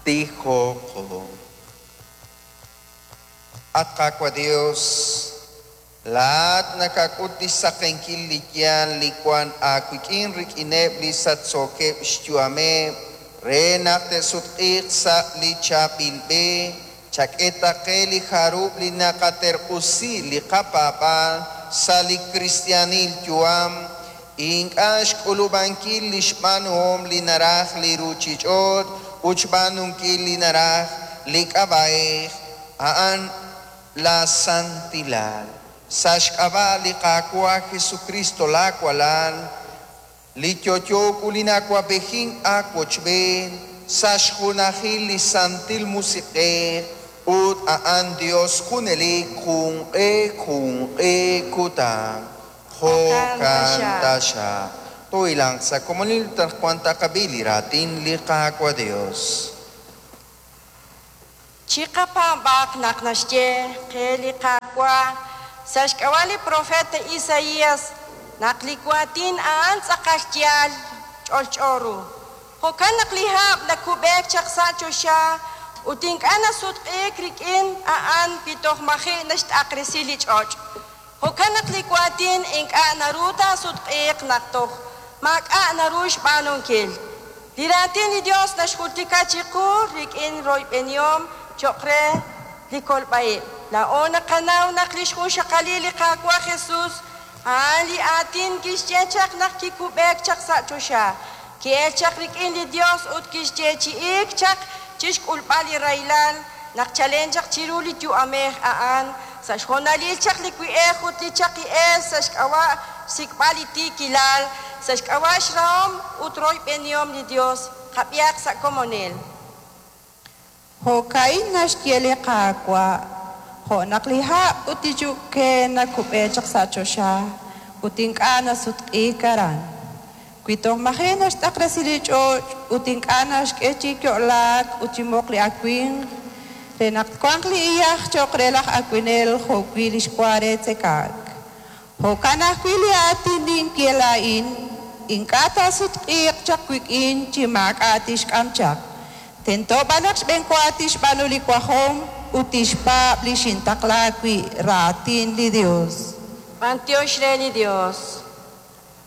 Tijoqo. At Qaawa' Dios, laa'at nakak'ut lix saqenkil li yaal li wan aawik'in rik'ineb' li sachsookeb' xyu'ameb' re naq te'sutq'iiq sa' li chaab'il b'e. Chak'e ta qe li jarub' li naqaterq'usi li qapaab'aal sa' li kristiaanil yu'am, ink'a' xk'ulub'ankil li xb'aanuhom li naraj li ruuchich'och' ut xb'aanunkil li naraj li k'ab'a'ej a'an la santilal. Sa' xk'ab'a' li Qaawa' Jesucristo laawalal, li yo'yo ut li na'awab'ejink aawochb'een sa' xjunajil li Santil Musiq'ej ut a'an Dios junelik junq'e junq'e kutan. Jo'kan taxaq. Toohilanq sa' komonil anaqwan taqab'i li raatin li Qaawa' Dios. Chiqapaab'aq naq naxye qe li Qaawa' sa' xk'ab'a' li profeta Isaías naq li waatin a'an tz'aqal yaal ch'olch'o ru. Jo'kan naq li hab' nakub'eek chaq sa' choxa ut ink'a' nasutq'iik rik'in a'an wi toj maji' naxt'aqresi li ch'och'. Jo'kan naq li waatin ink'a' naru taasutq'iiq naq toj maak'a' naru xb'aanunkil. Li raatin li Dios naxjultika chiqu rik'in royb'enihom cho'q re li kolb'a-ib'. Laa'o naqanaw naq li xjunxaqalil li Qaawa' Jesus a'an li aatin kixye chaq naq kikub'eek chaq sa' choxa. Ki'el chaq rik'in li Dios ut kixyeechi'iik chaq chixk'ulb'al li rahilal naq chalen chaq chiru li yu'amej a'an sa' xhoonalil chaq li wi'ej ut li chaqi'eel sa' xk'ab'a' xsik'b'al li tiikilal, sa' xk'ab'a' xrahom ut royb'enihom li Dios. Qab'ihaq sa' komonil. Jo'ka'in naxye li Qaawa', jo' naq li hab' ut li yu'ke nakub'e chaq sa' choxa ut ink'a' nasutq'iik aran. Wi toj maji' naxt'aqresi li ch'och' ut ink'a' naxk'e chi yo'laak ut chi moq li awimq, re naq twanq li iyaj cho'q re laj awinel jo'wi' li xwa re tzekaak. Jo'kan ajwi' li aatin ninye laa'in, ink'a' taasutq'iiq chaq wik'in chi maak'a' tixk'am chaq. Tento b'an naq xb'enwa tixb'aanu li wajom ut tixpaab' li xintaqla wi' raatin li Dios. B'antiox re li Dios.